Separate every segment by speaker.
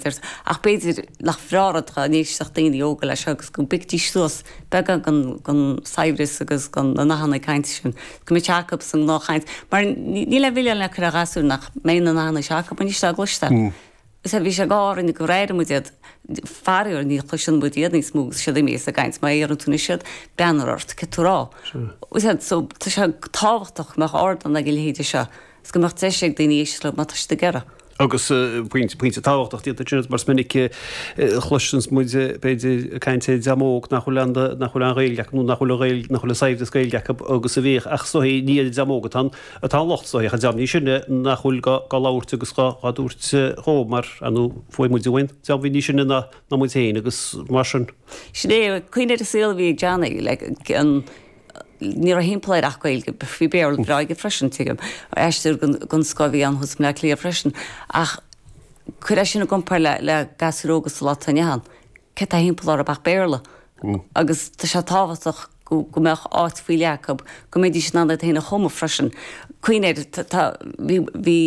Speaker 1: deir tú, ach b'fhéidir nach bhreá rud dá n-éistfeadh daoine óga leis seo agus go bhfaighidís suas beagán den, den saibhreas agus den, na nathanna cainte sin, go mbeadh sé acu sa ngnáthchaint. Mar níl aon mhilleán le cur ar ghasúir nach mbeidh na nathanna seo acu anois dá gcloisteáil. Sea, bhí sé go orainn gur airigh muid iad. Faraor, ní chloiseann muid iad níos mó agus siad imithe as an gcaint. Má iarrann tú anois iad, breathnófar ort, céard tú a rá? Sea, so tá sé tábhachtach go mbeadh ardán ag a leithéide seo agus go mbeadh deis ag daoine éisteacht leo má tá siad ag iarraidh.
Speaker 2: Agus pointe, pointe tábhachtach déanta ansin mar is minic a chloiseanns muid, b'fhéidir, ag caint ar dream óg nach bhfuil aon, nach bhfuil aon Ghaeilge acu nó nach bhfuil an Ghaeilge, nach bhfuil an saibhreas Gaeilge acu agus a bhíodh ach is dóichí ní ar an dream óg atá an, atá an locht is dóichí ach an dream níos sine nach bhfuil dhá labhairt agus dhá dtabhairt dhó mar, ar ndóigh, fuair muid uainn dream a bhí níos sine ná muid féin agus mar sin.
Speaker 1: Sin é, cuimhnigh ar an saol a bhí ag Johnny, like, an, ní raibh thimpeall air ach Gaeilge, bhí Béarla breá aige freisin, tuigim, aisteoir den scoth a bhí ann thuas i mBleá Cliath freisin, ach cuir é sin i gcomparáid le, le gasúir óga sa lá atá inniu ann. Céard tá thimpeall orthu ach Béarla agus tá sé tábhachtach go go mbeadh áit faoi leith acu, go mbeidís in ann iad féin a chumadh freisin. Cuimhnigh air, tá, bhí, bhí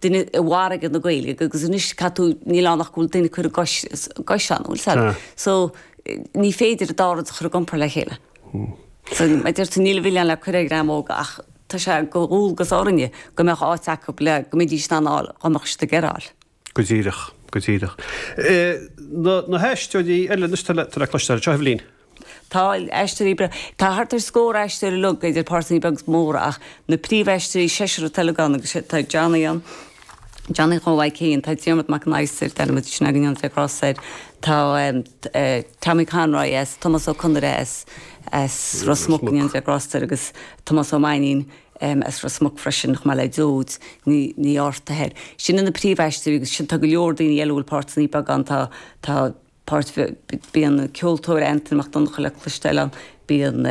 Speaker 1: duine i bhfarraige na Gaeilge agus anois caithfidh tú, níl ann ach go bhfuil duine ag cur a gcois, gcois ann, bhfuil 's agat? So, ní féidir an dá rud a chur i gcomparáid le chéile. So, mar a deir tú, níl an milleán le cur ar dhream óg ach tá sé de dhualgas orainne go mbeadh áit acu le go mbeidís in ann a fháil dá mbeadh siad ag iarraidh a fháil.
Speaker 2: Go díreach, go díreach. Na haisteoirí eile anois tá le cloisteáil anseo, Eibhlín.
Speaker 1: Tá aisteoirí breá. Tá thart ar scór aisteoir uilig, idir páirteanna beaga is móra, ach na príomhaisteoirí, seisear atá uilig ann agus tá Johnny ann, Johnny Chonmhaidh Keane, tá Diarmuid Mac an Adhastair, d'ainm sin againn ann, grásta air, tá Tommy Conroy as, Tomás Ó Conaire as, as Ros Muc, go ndéana Dia grásta air, agus Tomás Ó Mainnín, as Ros Muc freisin, chomh maith le Deoid Ní Ní Fhátharta. Sin na príomhaisteoirí agus sin tá go leor daoine eile a bhfuil páirteanna beaga ann, tá tá páirt bíonn an ceoltóir Antain Mac Donncha le cloisteáil ann, bíonn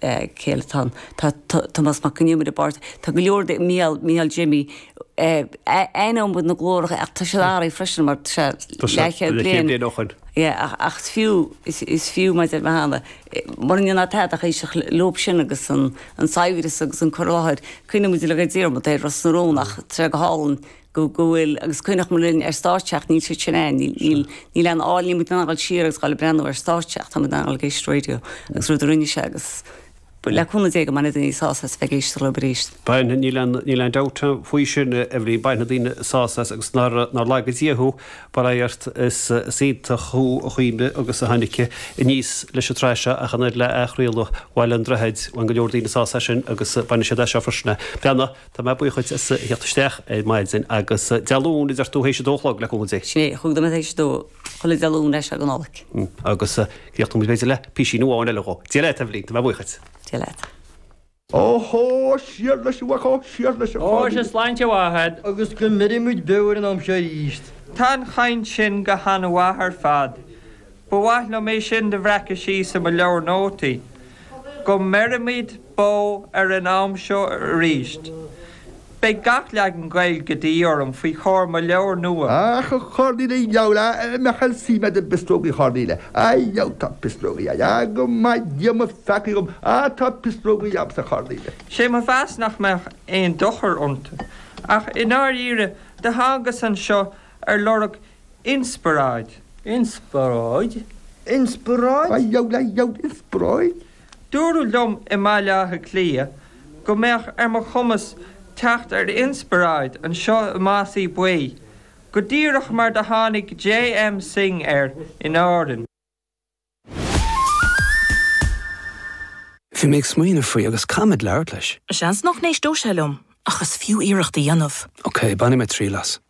Speaker 1: cé eile atá ann, tá Tomás Mac Con Iomaire i bpáirt, tá go leor Mícheál Mícheál Jimmy aithneoidh muid na glóracha ach tá siad athraithe freisin mar tá sé leathchéad bliain
Speaker 2: ó shin.
Speaker 1: Yeah, ach is fiú is fiú mar a deir mé cheana Mura ndéanfá tada ach éisteacht leob sin agus an saibhreas agus an cur i láthair, cuimhníonn muid uilig ar Diarmuid ar Ros na Rún ach tá sé go hálainn go go bhfuil agus cuimhneoidh muid linn ar stáitse ach níl siad sin ann, níl níl aon áil, níl muid in ann dul siar agus dhul ag breathnú ar stáitse ach tá muid in ann dul ag éisteacht raidió agus rud a rinne sé agus le cúnamh Dé go mbainfidh daoine sásamh as a bheith ag éisteacht leo arís.
Speaker 2: Bainfidh, níl aon, níl aon dabht faoi sin, a Eibhlín, bainfidh daoine sásamh as agus nár, nár laga Dia thú, bail ó Dhia ort, is, is iontach thú a Chuimhne agus a tháinig aníos leis an tsraith seo ach an oiread le athchraoladh Bhaile an Droichid, bhain go leor daoine sásamh as sin agus bainfidh siad as seo freisin. Breathnaigh, tá mé buíoch duit as a theacht isteach ar maidin agus Dé Luain a deir tú théis a dó a chlog le cúnamh Dé.
Speaker 1: Sin é, chúig nóiméad théis a dó, chuile Dé Luain as seo go Nollaig.
Speaker 2: Agus críochnóidh muid b'fhéidir le písín amháin eile dhó. Dia leat, a Eibhlín, tá mé buíoch duit.
Speaker 1: Dia leat.
Speaker 3: Ó hó, siar leis an mhac, ó, siar leis an
Speaker 4: Ó, sea, sláinte mhaith a'd.
Speaker 5: Agus go mbeirfidh muid beo ar an am seo arís.
Speaker 4: Tá an chaint sin go han-mhaith ar fad. Ba mhaith liom é sin do bhreacadh síos i mo leabhar nótaí. Go mbeirimid beo ar an am seo arís. Beidh gach leagan Gaeilge de dhíth orm faoi chomhair mo leabhair nua.
Speaker 3: Ach a Chornelia, dheabhail, a mbeadh aon suim a'd i bpislógaí Chornelia? A dheabhail, tá pislógaí a'd. A go maith Dia mo pheacaí dhom, a tá pislógaí a'msa Chornelia.
Speaker 4: Sé mo mheas nach mbeadh aon dochar iontu. Ach i ndáiríre, do thángas anseo ar lorg inspioráid.
Speaker 5: Inspioráid? Inspioráid?
Speaker 3: A dheabhail, a dheabhail, inspioráid?
Speaker 4: Dúradh liom i mBaile Átha Cliath go mbeadh ar mo chumas teacht ar inspioráid anseo i Mossy Buí, go díreach mar do tháinig J.M. Synge air in Árainn.
Speaker 6: Bhí mé ag smaoineamh faoi agus caithfimid labhairt leis.
Speaker 7: Seans nach n-éisteoidh sé liom, ach is fiú iarracht a dhéanamh.
Speaker 6: Ok, bainfidh mé triail as.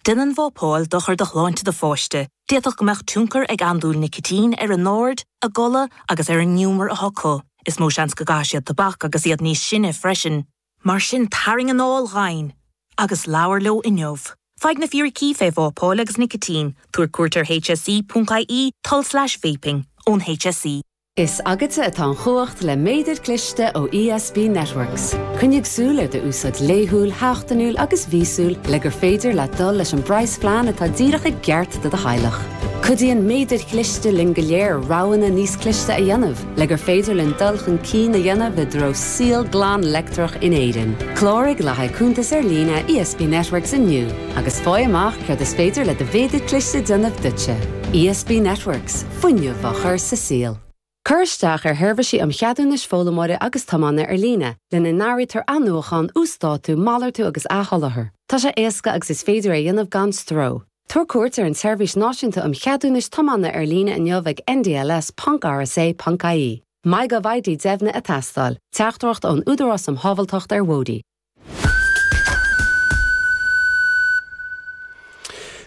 Speaker 7: Déanann vápáil dochar do shláinte do pháiste. D'fhéadfadh go mbeadh tionchar ag andúil nicitín ar a n-aird, a gcodladh agus ar an ngiúmar atá acu. Is mó seans go gcaithfidh siad tobac agus iad níos sine freisin. Mar sin tarraing anáil dhomhain agus labhair leo inniu. Faigh na fíricí fé vápáil agus nicitín, tabhair cuairt ar hse.ie tulslais vaping ón HSE.
Speaker 8: Is agatsa atá an chumhacht le méadar cliste ó ESB Networks. Coinnigh súil ar d'úsáid laethúil, sheachtainiúil agus mhíosúil le gur féidir leat dul leis an bpraghasphlean atá díreach i gceart do do theaghlach. Cuidíonn méadair chliste linn go léir roghanna níos cliste a dhéanamh le gur féidir linn dul chun cinn a dhéanamh i dtreo saol glan leictreach in Éirinn. Cláraigh le haghaidh cuntas ar líne ESB Networks inniu agus faigh amach céard is féidir le do mhéadar cliste déanamh duitse. ESB Networks, fuinneamh á chur sa saol. Cuir isteach ar sheirbhísí um cheadúnais foghlaimeora agus tiomána ar líne, lena n-áirítear athnuachan, uasdátú, malartú agus athsholáthar. Tá sé éasca agus is féidir é a dhéanamh gan stró. Tabhair cuairt ar an tSeirbhís Náisiúnta um Cheadúnais Tiomána ar líne inniu ag ndls ponc rsa ponc ie. MyGovID deimhnithe ag teastáil. Teachtaireacht ón Údarás um Shábháilteacht ar Bhóithre.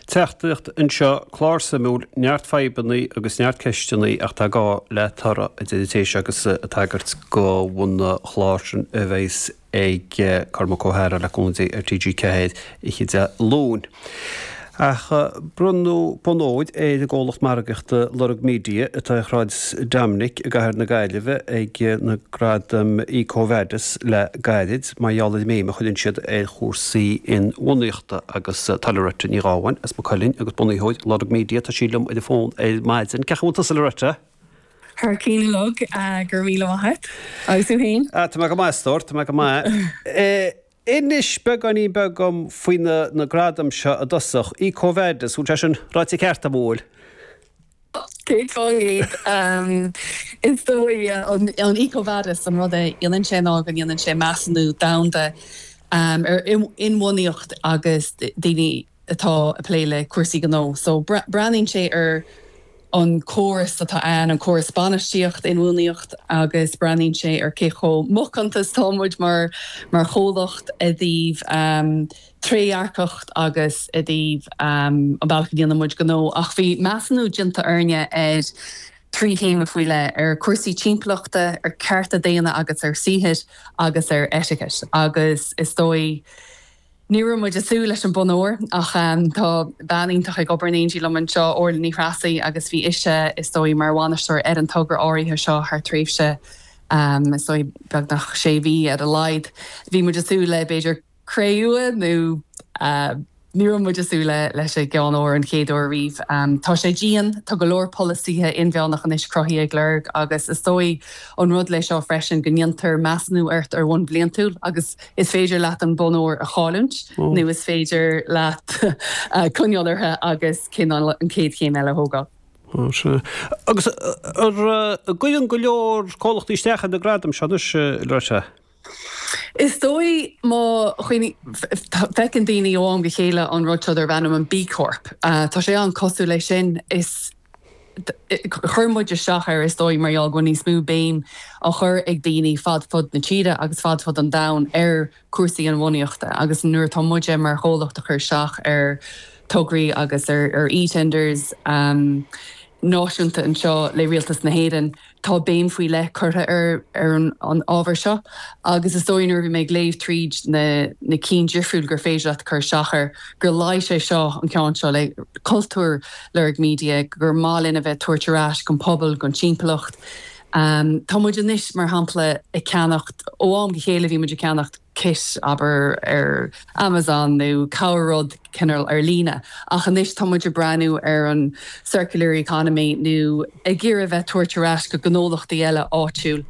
Speaker 2: Teachtaireacht anseo, clár suimiúil, neart fadhbanna agus neart ceisteanna ach tá gá le toradh, a deir an té seo agus ag tagairt don chlár sin a bheas ag Cormac Ó hEadhra le cúnamh Dé ar TG4 oíche Dé Luain. Ach bronnadh bonn óir ar an gcomhlacht margaíochta Lorg Media atá ar Shráid Dominic i gcathair na Gaillimhe ag na Gradaim EcoVadis le gairid mar gheall ar an mbéim a chuireann siad ar chúrsaí inbhuanaíochta agus tá Loretta Ní Ghabháin as Maigh Cuilinn agus bunaitheoir Lorg Media, tá sí liom ar an bhfón ar maidin. Cén chaoi a bhfuil tusa Loretta?
Speaker 9: Thar cionn uilig, go raibh míle maith agat. Agus tú
Speaker 2: féin? Tá mé go maith a stór, tá mé go maith. Inis beagáinín beag dom faoi na gradaim seo i dtosach. EcoVadis, bhfuil sé sin ráite ceart agam, an bhfuil?
Speaker 9: 100%. Is dóigh, an EcoVadis, an rud a dhéanann sé ná go ndéanann sé measúnú domhanda ar inbhuanaíocht agus daoine atá ag plé le cúrsaí gnó. So breathnaíonn sé ar an córas atá ann, an córas bainistíocht inbhuanaíocht agus breathnaíonn sé ar cé chomh macánta is atá muid mar mar chomhlacht i dtaobh trédhearcacht agus i dtaobh an bealach a ndéanann muid gnó. Ach bhí measúnú déanta orainne ar thrí théama faoi leith, ar chúrsaí timpeallachta, ar cearta daonna agus ar saothair agus ar eiticeas agus is dóigh, Ní raibh muid ag súil leis an bonn óir ach tá bean iontach ag obair in éindí liom anseo, Orla Ní Threasaigh, agus bhí ise, is dóigh, mar bhainisteoir ar an togra áirithe seo thar tréimhse, is dóigh, beagnach sé mhí ar a laghad. Bhí muid ag súil le, b'fhéidir, cré-umha nó ní raibh muid ag súil leis an gceann óir an chéad uair riamh. Tá sé dian, tá go leor polasaithe inmheánach anois cruthaithe ag Lorg agus is dóigh an rud le seo freisin go ndéantar measúnú ort ar bhonn bliantúil agus Is féidir leat an bonn óir a chailliúint nó is féidir leat coinneáil uirthi agus cineál an chéad chéim eile a thógáil.
Speaker 2: Sea. Agus an gcuireann go leor comhlachtaí isteach ar na gradaim seo anois, Loretta?
Speaker 9: Is dóigh má feiceann daoine ó am go chéile an rud seo darb ainm an B Corp. Tá sé an-cosúil leis sin. Is. Chuir muid isteach air, is dóigh, mar gheall go bhfuil níos mó béim á chur ag daoine fad fud na tíre agus fad fud an domhain ar chúrsaí inbhuanaíochta agus nuair atá muide mar chomhlacht ag cur isteach ar tograí agus ar e-tenders náisiúnta anseo le Rialtas na hÉireann, Tá béim faoi leith curtha ar an ábhar seo agus is dóigh nuair a bhí mé ag léamh tríd na na cinn difriúil gur féidir leat cur isteach air gur luigh sé seo, an ceann seo, le cultúr Lorg Media, gur maith linn a bheith ag tabhairt ar ais don phobal, don timpeallacht. Tá muid anois, mar shampla, ag ceannacht, ó am go chéile bhí muid ag ceannacht, kit, abair, ar Amazon nó corr-rud cineál ar líne. Ach anois tá muid ag breathnú ar an circular economy nó ag iarraidh a bheith tabhairt ar ais go gnólachtaí eile áitiúil.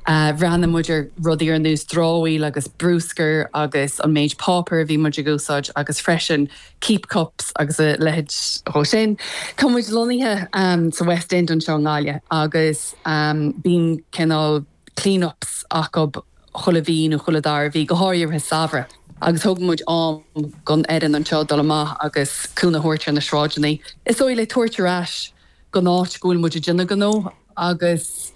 Speaker 9: Bhreathnaigh muid ar rudaí ar nós dramhaíl agus brúscar agus an méid páipéir a bhí muid ag úsáid agus freisin keep cups agus a leithéid dhó sin. Tá muid lonnaithe sa West End anseo i nGaillimh agus bíonn cineál clean ups acu chuile mhí nó chuile dara mhí, go háirithe i rith samhradh, agus thug muid am don fhoireann anseo dul amach agus cúnamh a thabhairt ar na sráideanna. Is dóigh le tabhairt ar ais don áit go bhfuil muid ag déanamh gnó agus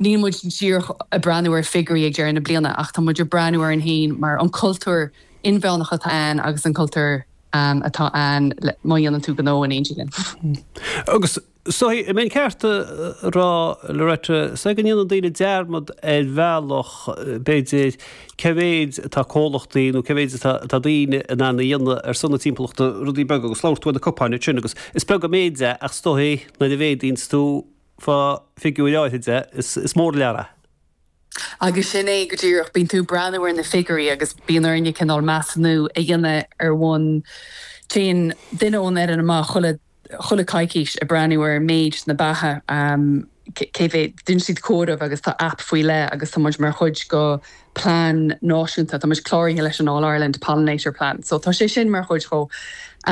Speaker 9: níl muid díreach ag breathnú ar figiúirí ag deireadh na bliana ach tá muid ag breathnú orainn féin mar an cultúr inmheánach atá ann agus an cultúr atá ann má dhéanann tú gnó in éindí linn.
Speaker 2: Agus So, an mbeinn ceart a rá, Loretta, so go ndéanann daoine dearmad ar bhealach, b'fhéidir, cé mhéid atá comhlachtaí nó cé mhéid atá daoine in ann a dhéanamh ar son na timpeallachta, rudaí beaga, agus labhair tú ar na cupáin ansin agus is beag an méid é ach is dóigh nuair a mhéadaíonns tú fá figiúir áirithe de, is mór an lear é.
Speaker 9: Agus sin é go díreach, bíonn tú ag breathnú ar na figiúirí agus bíonn orainne cineál measúnú a dhéanamh ar bhonn, téann duine ón fhoireann amach chuile. chuile coicís ag breathnú ar méid na beacha, cé mhéad, déanann siad comhaireamh agus tá aip faoi leith agus tá muid mar chuid go plean náisiúnta, tá muid cláraithe leis an All Ireland Pollinator Plan. So tá sé sin mar chuid chomh.